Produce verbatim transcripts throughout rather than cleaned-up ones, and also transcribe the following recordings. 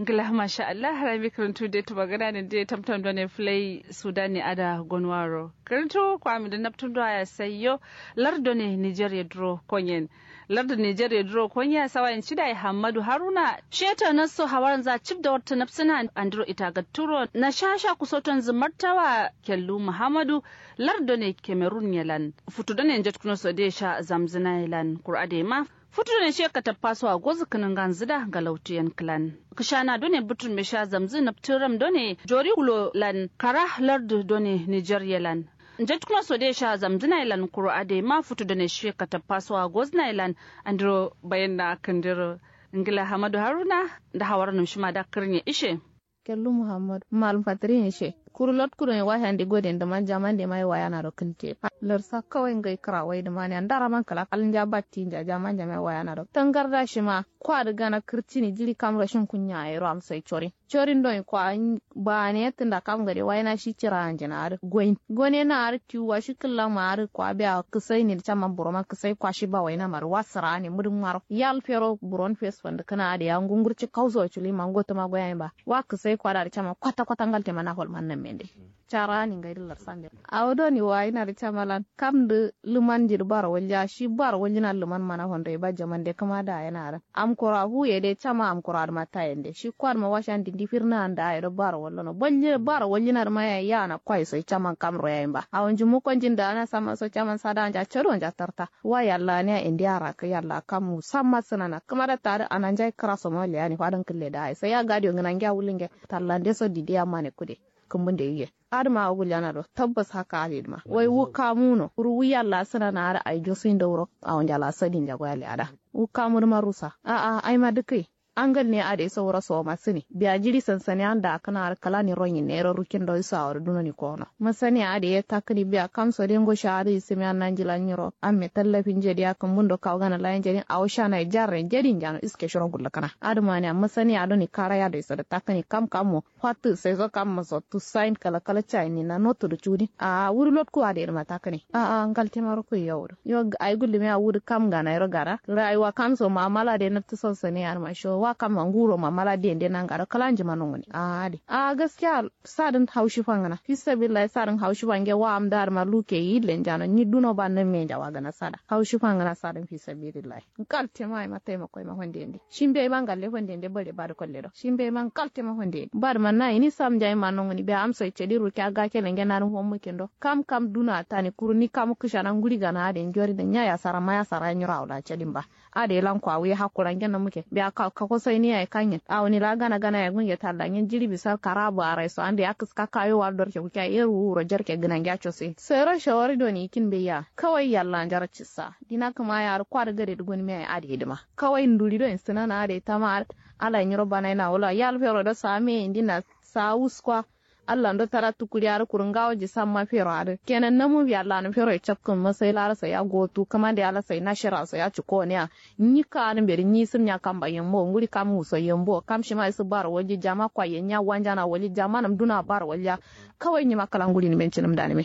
Ngla masha Allah, harami kǝrǝntu de tǝmagǝna nǝnde tamtam done fǝlai sudani ada gonwaro kǝrǝntu kwami dǝ naptǝm do aya saiyo. Lardǝ done niger ye duro konyen. Lardǝ niger ye duro konya sawayin cida ye hammadu haruna. Sheto nasso hawaranza cib da wartǝ napsǝna andiro itagatturo na sha sha kusotonzǝ martawa kellu muhammadu. Lardǝ done cameroon ye lan futu done njatkǝno so de sha zamzǝna ye lan kuru adai ma futu done she katappa so a gozǝ kǝnǝnganzǝ da galautiyen kǝlan. Kǝshana done bǝtǝrme sha zamzǝ naptǝram done jori wulo lan kara lardǝ done niger ye lan. Njatkǝno so de sha zamzǝna ye lan kuru adai ma futu done she katappa so a gozǝna ye lan. Andiro bayanna kǝndiro ngla hamadu haruna nda hawaranǝm shima da kǝrnye ishe. Kellu muhammad malum fatirin ishe kuru lot kudon washan de goden dǝman jaman de mai wayana do kǝlte. Larsa kawai ngai kǝra wai dǝman ya ndara man kala kal nja batti nja jaman jama wayana do tangarda shima kwa dǝ gana kǝrtini jiri kam rashin kunya yero amsai corin. Corin don kwa bane tunda kam gade waina shi cira anjina adǝ goyin gone na adǝ tiwwa shi kǝlla ma adǝ kwa biya kǝsai ne dǝ caman buro man kǝsai kwa shi ba waina ma dǝ wa sǝra ne mudum maro yal fero buron fes fandǝ kǝna adǝ ya ngungurci kauso culi ma ngotuma goyayin ba. Wa kǝsai kwa da dǝ caman kwata kwata ngal tema na fol man nan mende. Cara ni ngai dǝ larsan de awo doni waina dǝ camalan kam dǝ lǝman ji dǝ baro walja shi baro waljina lǝman mana fondo ye ba jaman de kǝma da yana adǝ. Am koro a fu ye de cama am koro adǝ ma ta yen de shi kwa dǝ ma washan dindi firna anda ayi do baro wallono balji baro waljina dǝ ma yayi yana kwai so caman kam ro yayin ba awo nji mukon jin da ana sama so caman sada anja cado anja tarta. Wa yalla aniya indi ara kǝ yalla kam samma sǝnana kǝma da ta adǝ ana njai kǝra so ma leyani fadǝn kǝlle da ayi sai ya gadiyo ngǝna ngiya wulunge. Tallande so didi amma ne kude kǝmbunde yiye. Adǝma awo guljana do tabbas haka adǝ dǝma wai wu kamuno kuru wu yalla sǝnana adǝ ai josuyin dauro. Awo njala sadin jagoya le ada wu kamu dǝma rusa. A'a aima dǝkǝyi angal ne adǝ ye sauro soma sǝni biya jiri sansani anda akǝna adǝ kǝlani ronyi nero rukin do isu awo dǝ dunoni kono masani adǝ ye takkǝni biya kamso de ngo sha adǝ isǝmiya nanjila nyiro amme tallafin jediya kǝmbundo kawu gana layin jedin awo shanaye jarre jedin jano iske shiro gullǝkǝna adǝmaniya masani adoni karaya do iso dǝ takkǝni kam kammo. Fattǝ saiso kamma so tussayin kala kala cayin ninna nottu dǝ cudin a'a wudǝ lotku adǝ yedǝ ma takkǝne. A'a ngaltema rokko yawu dǝ yo ayi gullumi a'a wudǝ kam gana yero gana rayuwa kamso ma'amala de nabtǝ son sane adǝma sho wa kamma nguro ma'amala de nde nanga do kala njima nonguni a'a adǝ a'a gaskiya. Sadǝn haushi fangǝna fisabilillahi sadǝn haushi fange wa am da adǝma luke yille njano nyi duno ba namme njawa gana sada haushi fangǝna sadǝn fisabilillahi. Ngaltema aima taimako aima fandende shimbe aima ngalle fandende bare badǝ kolle do shimbe aima ngaltema fandende badǝ manna ini sam njayi ma nonguni biya amso ye cadi rukiya gakele nge nanǝm fommu kindo kam kam duna tani kuru ni kamu kǝshana nguri gana adǝ ye njori dǝ nya yasara ma yasara ye nyiro awo la cadin ba. Adǝ ye lan kwa wuye hakkuran nge namuke biya kako sai ni yayi kanyen awoni la gana gana yayi gunge talla ngen jiri bisar kara barai so ande ya kǝska kayo wal dorke kukiya ye ruwu wuro jarke gǝna nge ya cosi sairo shawari doni yikin beya. Kawai yalla njara cissa dina kǝma ya adǝ kwa dǝ gade dǝ gonimiya ye adǝ ye dǝma kawai nduri do yen sǝnana adǝ ye tama adǝ. Ala nyiro banayi na wula yal fero do same ye ndina sa wuskwa. Allando tara tukuri adǝ kuru ngawo ji samma fero adǝ kenan namu biya lanu fero ye capkǝn masai laro sai ya gotu kǝmande ala sai nashira sai ya cukoniya. Nyi ka adǝ mbedǝ nyi sǝmnya kamba yambo nguri kam wuso yambo kam shima isǝ baro walji jama kwa ye nya wanjana walji jama nǝm duna baro walja. Kawai nyima kǝla nguri nǝmen cinǝm danǝme.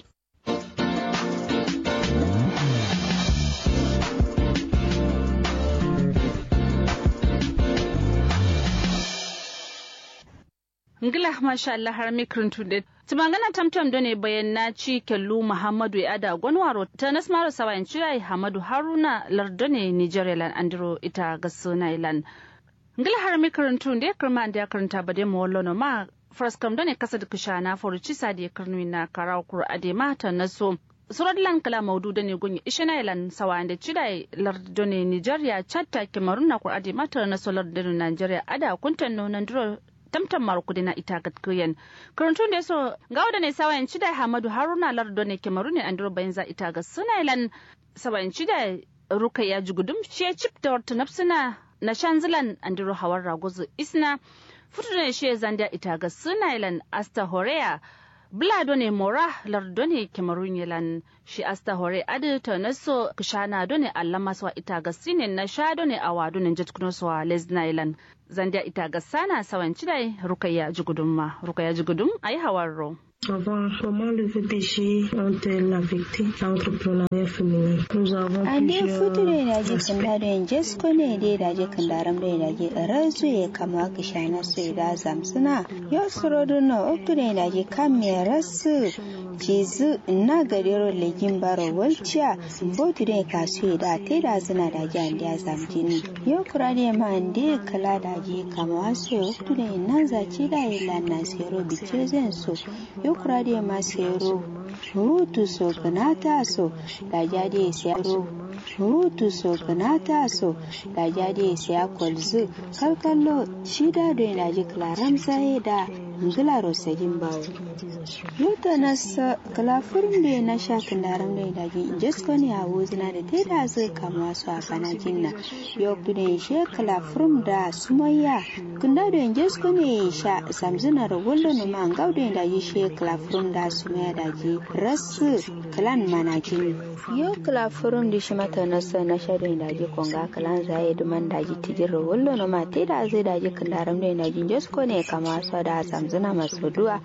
Ngla masha allah harami kǝrǝntu de tǝmangana tamtam done bayanna ci kellu muhammadu ye ada gonwaro tanas maro sawayin cida ye hamadu haruna lar done nigeria lan andiro ita gassǝna ye lan. Ngla harami kǝrǝntu nde kǝrma andeya kǝrǝnta bade mowollono ma. Faraskam done kasadǝ kǝshana foru cisa de kǝrnuwinna karawo kuru adema tanaso. Suro dǝlan kǝla maudu done gonye ishena ye lan sawayende cida ye lardǝ done nigeria chatta kemarun na kuru adema tanaso lardǝ done nigeria ada kuntanno nandiro. Tamtam maro kudena ita gatkǝyen. Kǝrǝntu nde so ngawo done sawayen cida ye hamadu haruna lardǝ done kemarun ye andiro bayinza ita gassǝna ye lan. Sawayen cida ye rukaiya jugudum shiye cip dawartǝ nabsǝna. Nashanzǝ lan andiro hawarra gozǝ isna. Futu done shiye zandiya ita gassǝna ye lan asta horeya. Bǝla done mora lardǝ done kemarun ye lan. Shi asta hore adǝ tanaso kǝshana done allama sowa ita gassǝne nasha done awa done njatkǝno sowa lesna ye lan. Zandiya ita gassana sawayen cida ye rukaiya jugudum ma rukaiya jugudum ayi hawarro. Avant, comment le V P G ont-elles affecté l'entrepreneuriat féminin? Nous avons ande plusieurs futu doi daji aspects. Kǝnda doi njesko ne doi daji kǝndaram doi daji rasu ye kamwa kǝshana so ye da zamsǝna. Yo suro dǝno oktu doi daji kam ye rasu cizǝ na gadero lejin baro walciya. Botu doi kasu ye da te da zǝna daji ande ya zamjin. Yo kura doi ma ande kǝla daji kamwa so ye oktu doi nanza ci da ye lanna sero bice zen so. Yo kura doi ma sero rutu so gǝnata so. Daji ade sero rutu so gǝnata so. Daji ade siya kolzǝ kalkallo. Cida doi daji kǝlaram zaye da ngǝlaro sajin bawo. Yo tanassa kǝla furum doi nasha kǝndaram doi daji njesko ne a wuzǝna da te da zǝ kamwa so a bana jinna. Yo kudoi she kǝla furum da sumoya. Kǝnda doi njesko ne sha samzǝna ro wallo noma ngau doi daji she kǝla furum da sumoya daji rasu kǝlan mana jin. Yo kǝla furum dǝ shima tanassa nasha doi daji konga kǝlan zaye dǝman daji tijirro wallo noma te da zǝ daji kǝndaram doi daji njesko ne kamwa so da samzǝna maso duwa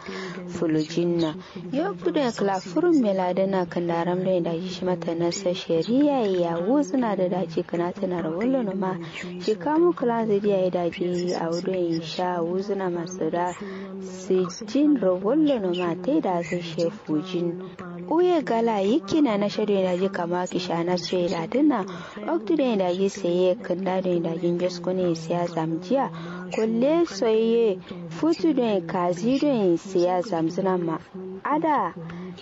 fulujinna. Yo kudoi kǝla furum meladǝna kǝndaram doi daji shima tanassa shariya ye ya wuzǝna dǝ daji kǝnatǝna ro wallo noma. Shi kamu kǝlan zǝ diya ye daji awo doi sha wuzǝna maso da sijin ro wallo noma te da zǝ she fujin. Uye gala yikkina nasha doi daji kamwa kǝshana so ye ladǝna. Oktu doi daji seye kǝnda doi daji njesko ne siya zamjiya. Kolle so ye futu doi kazi doi siya zamzǝna ma ada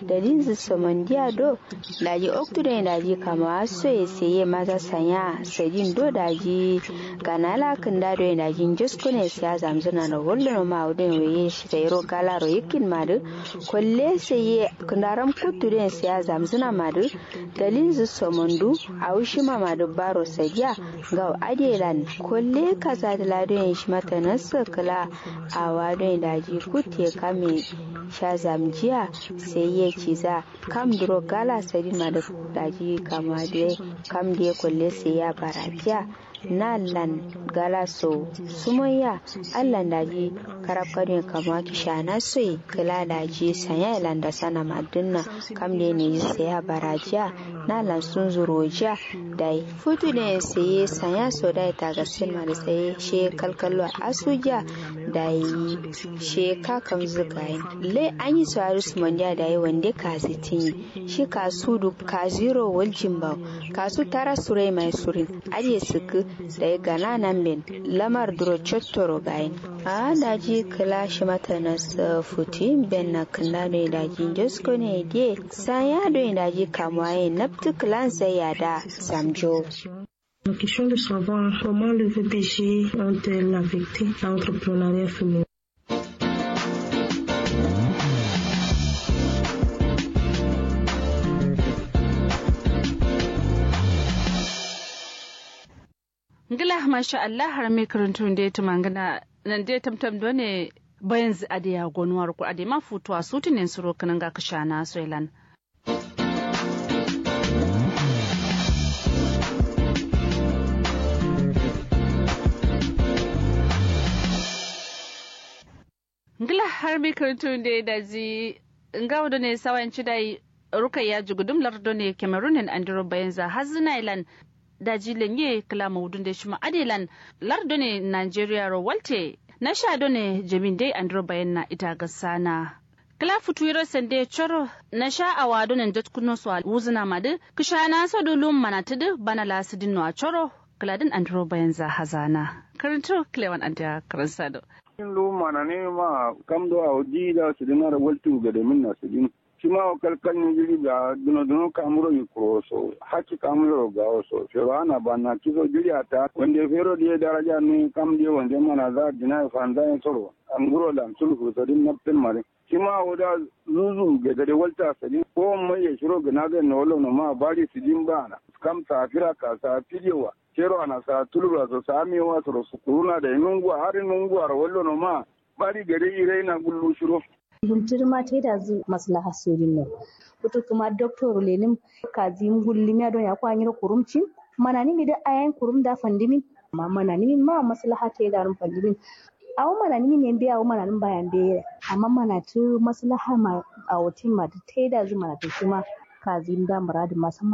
dalilzǝ somondiya do. Daji oktu doi daji kamwa so ye seye maza sanya sadin do daji gana la kǝnda doi daji njesko ne siya zamzǝna ro wallo noma awo doi waye sayiro galaro yikkin madǝ. Kolle seye kǝndaram kuttu doi siya zamzǝna madǝ. Dalilzǝ somondu awo shima madǝ baro sadiya. Ngau ade lan kolle kazadǝ la doi shima tanassa kǝla awa doi daji kutte kame sha zamjiya. Seye ciza kam duro gala sadin madǝ daji kamwa dǝ kam dǝ kolle seye ya barajiya. Na lan gala so sumoya. Allan daji karab kadoi kamwa kǝshana so ye kǝla daji sanya ye lan dasana madǝnna. Kam dǝ ne seye ya barajiya. Na lan sunzuro jiya. Dai futu doi seye sanya so dai tagassin madǝ seye she kalkallo asujiya. Dai she ka kamzǝ gayin le anyi so adǝ sumondiya dai wande kazi tinyi. Shi kasu duk kaziro waljin bawo. Kasu tara surai mai surin. Adiye sǝkkǝ dai gana nan ben lamar duro cottoro gayin. A'a daji kǝla shima tanassa futuyin ben na kǝnda doi daji njesko ne diye sanya doi daji kamwa ye naptǝ kǝlan zai ya da zamjo. La question de savoir comment le V P G ont-elles affecté l'entrepreneuriat féminin? Ngla masha Allah har me kǝrǝntun de tǝmangǝna. Nan de tamtam done bayanzǝ ade ya gonuwa rukku ade ma futuwa sutǝnen suro kǝnanga kǝshana soilan. Ngla har mi kǝrǝntun de daji ngawo done sawayin cidai. Rukaiya jugudum lar done cameroon nen andiro bayanza hazǝna ilan. Daji lenye kǝla maudun de shima ade lan lar done nigeria ro walte nasha done jamin de andiro bayanna ita gasana. Kǝla futu yiro sande coro nasha awa done jatkuno so wuzǝna madǝ kǝshana so dulum manatǝdǝ bana la sǝdin no a coro. Kǝladǝn andiro bayanza hazana. Kǝrǝntu kǝlewan andiya kǝrǝnsado. Lu mananǝ ma kam do awo di da sǝdǝna da waltu gade minna sǝdǝn. Shima wo kalkal ni jiri biya duno duno kamuro yi kuro so hakki kamuro gawo so fero ana banna kiso jiri ata wande fero diye daraja nu kam diye wande mana za dina fanza yin soro. Anguro lam sulhu sodin naptin mare. Shima wo da zuzu gade walta sodin ko mai ya shiro gana zai no lo no ma bari sodin bana. Kam safira ka sa fidewa. Fero ana sa tulura so sa mewa soro sukuruna da nunguwa har nunguwa ro wallo no ma. Bari gade irai na gullu shiro. Gultǝ dǝ ma taidazǝ maslaha sodin no. Futu kǝma doktor lenǝm kazi yim gullimiya don yakko anyiro kurumcin. Mananǝmi dǝ ayayin kurum da fandǝmin. Amma mananǝmin ma maslaha taidarǝm fandǝmin. Awo mananǝmin ye mbeyi awo mananǝm ba ya mbeyi ye. Amma manatǝ maslaha ma awo tin ma dǝ taidazǝ manatǝ shima. Kazǝ yim da mǝradǝ ma samma.